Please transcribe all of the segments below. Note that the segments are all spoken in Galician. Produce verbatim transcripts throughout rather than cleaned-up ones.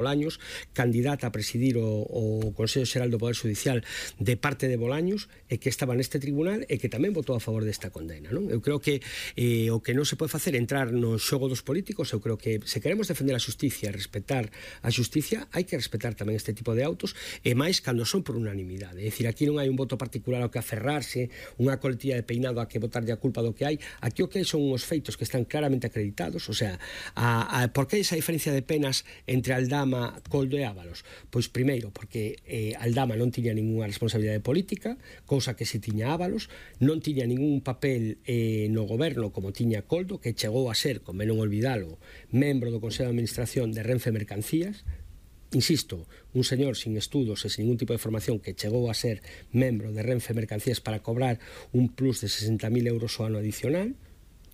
Bolaños, candidata a presidir o, o Consello Xeral do Poder Judicial de parte de Bolaños, e que estaba neste tribunal e que tamén votou a favor desta condena, non? Eu creo que eh, o que non se pode facer é entrar no xogo dos políticos. Eu creo que se queremos defender a xusticia, respetar a xusticia, hai que respetar tamén este tipo de autos, e máis cando son por unanimidade. É dicir, aquí non hai un voto particular ao que aferrarse, unha coletilla de peinado a que botarlle a culpa do que hai. Aquí o que hai son uns feitos que están claramente acreditados. O sea, a, a, por que esa diferencia de penas entre Aldama, Coldo e Ábalos? Pois primeiro, porque eh, Aldama non tiña ninguna responsabilidade política, cousa que se tiña Ábalos, non tiña ningún papel eh, no goberno como tiña Coldo, que chegou a ser, como non olvidalo, membro do Consello de Administración de Renfe Mercancías. Insisto, un señor sin estudos e sin ningún tipo de formación que chegou a ser membro de Renfe Mercancías para cobrar un plus de sesenta mil euros ao ano adicional,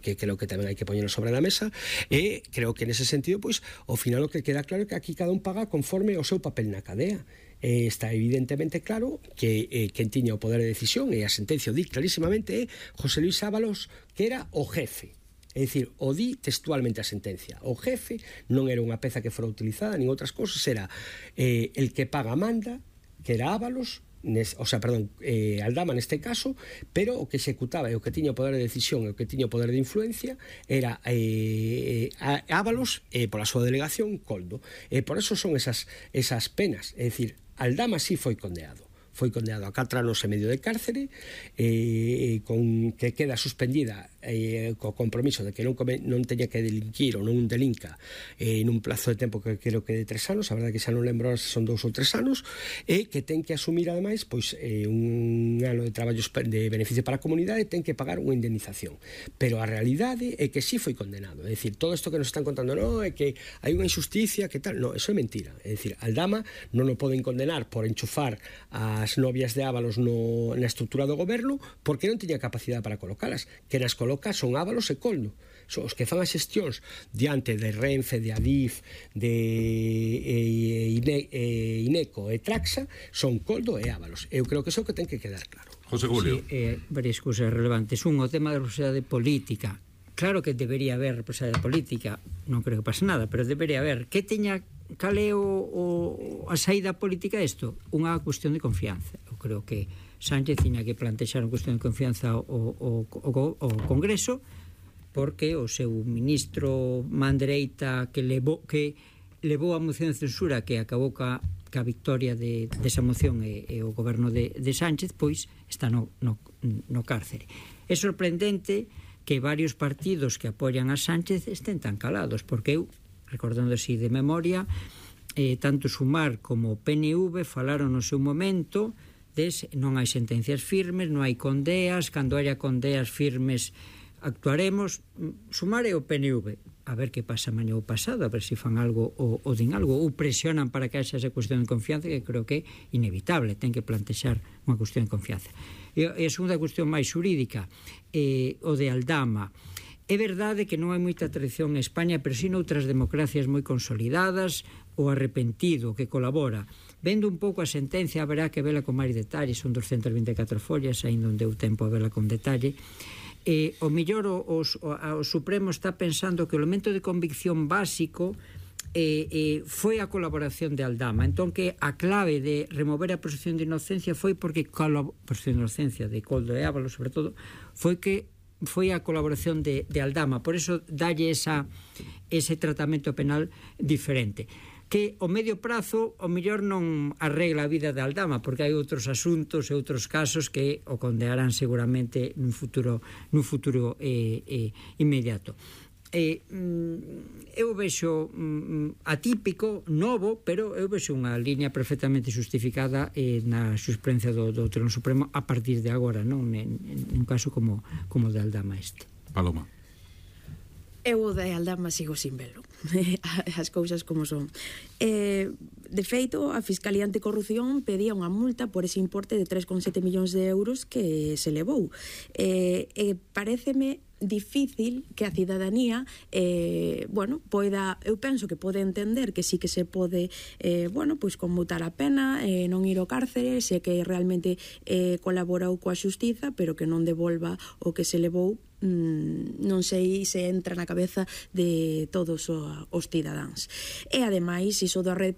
que creo que tamén hai que poñerlo sobre a mesa, e creo que nese sentido, pois, ao final o que queda claro é que aquí cada un paga conforme o seu papel na cadea. E está evidentemente claro que eh, quen tiña o poder de decisión, e a sentencia o di clarísimamente, é José Luis Ábalos, que era o jefe. É dicir, o di textualmente a sentencia. O jefe non era unha peza que fora utilizada, nin outras cosas, era eh, el que paga manda, que era Ábalos, Nes, o sea, perdón, eh, Aldama neste caso, pero o que executaba e o que tiña o poder de decisión e o que tiña o poder de influencia era eh, Ábalos, e eh, pola súa delegación Coldo. E eh, por eso son esas, esas penas. É dicir, Aldama sí foi condenado. Foi condenado a catro anos e medio de cárcere, eh, con que queda suspendida eh, co compromiso de que non, come, non teña que delinquir ou non delinca eh, nun plazo de tempo que creo que de tres anos, a verdade que xa non lembro se son dous ou tres anos, e que ten que asumir ademais pois, eh, un ano de traballos de beneficio para a comunidade, ten que pagar unha indemnización. Pero a realidade é que sí foi condenado. É dicir, todo isto que nos están contando, non, é que hai unha injusticia, que tal, non, eso é mentira. É dicir, Aldama non o poden condenar por enchufar a as novias de Ábalos no, na estrutura do goberno, porque non tiña capacidade para colocalas, que nas coloca son Ábalos e Coldo. Son os que fan as xestións diante de Renfe, de Adif, de eh, Ine, eh, Ineco e Traxa, son Coldo e Ábalos. Eu creo que iso que ten que quedar claro. José Julio. Sí, eh, varias cousas relevantes. Un, o tema da responsabilidade política. Claro que debería haber responsabilidade política, non creo que pase nada, pero debería haber. Que teña cal é o, o, a saída política a isto? Unha cuestión de confianza. Eu creo que Sánchez tiña que plantexar unha cuestión de confianza ao, ao, ao, ao Congreso, porque o seu ministro man dereita que levou, que levou a moción de censura que acabou ca, ca victoria de, desa moción e, e o goberno de, de Sánchez, pois está no, no, no cárcere. É sorprendente que varios partidos que apoian a Sánchez estén tan calados, porque eu, recordando así de memoria, eh, tanto Sumar como o P N V falaron no seu momento de non hai sentencias firmes, non hai condeas, cando haya condeas firmes actuaremos. Sumar e o P N V, a ver que pasa mañá ou pasado, a ver se fan algo ou, ou din algo, ou presionan para que haxa esa cuestión de confianza, que creo que é inevitable, ten que plantexar unha cuestión de confianza. E a segunda cuestión máis xurídica, eh, o de Aldama. É verdade que non hai moita tradición en España, pero sí noutras democracias moi consolidadas, o arrepentido que colabora. Vendo un pouco a sentencia, haberá que vela con máis detalle, son doscientas vinte e catro follas, ainda non deu tempo a vela con detalle. Eh, o mellor o, o, o Supremo está pensando que o elemento de convicción básico eh, eh, foi a colaboración de Aldama. Entón que a clave de remover a presunción de inocencia foi porque a presunción de inocencia de Coldo e Ábalos, sobre todo, foi que foi a colaboración de, de Aldama, por eso dalle esa, ese tratamento penal diferente, que o medio prazo o mellor non arregla a vida de Aldama, porque hai outros asuntos e outros casos que o condearán seguramente nun futuro, nun futuro eh, eh, inmediato. Eh, eu vexo mm, atípico, novo, pero eu vexo unha liña perfectamente justificada eh, na xurisprudencia do, do Tribunal Supremo a partir de agora, non? En, en un caso como, como de Aldama este. Paloma. Eu o de Aldama sigo sin velo. As cousas como son. Eh, de feito, a Fiscalía Anticorrupción pedía unha multa por ese importe de tres coma sete millóns de euros que se levou. Eh, eh, paréceme difícil que a cidadanía eh, bueno, poida, eu penso que pode entender que sí que se pode eh, bueno, pois conmutar a pena, eh, non ir ao cárcere, se que realmente eh, colaborou coa xustiza, pero que non devolva o que se levou non sei se entra na cabeza de todos os cidadáns. E ademais, iso da red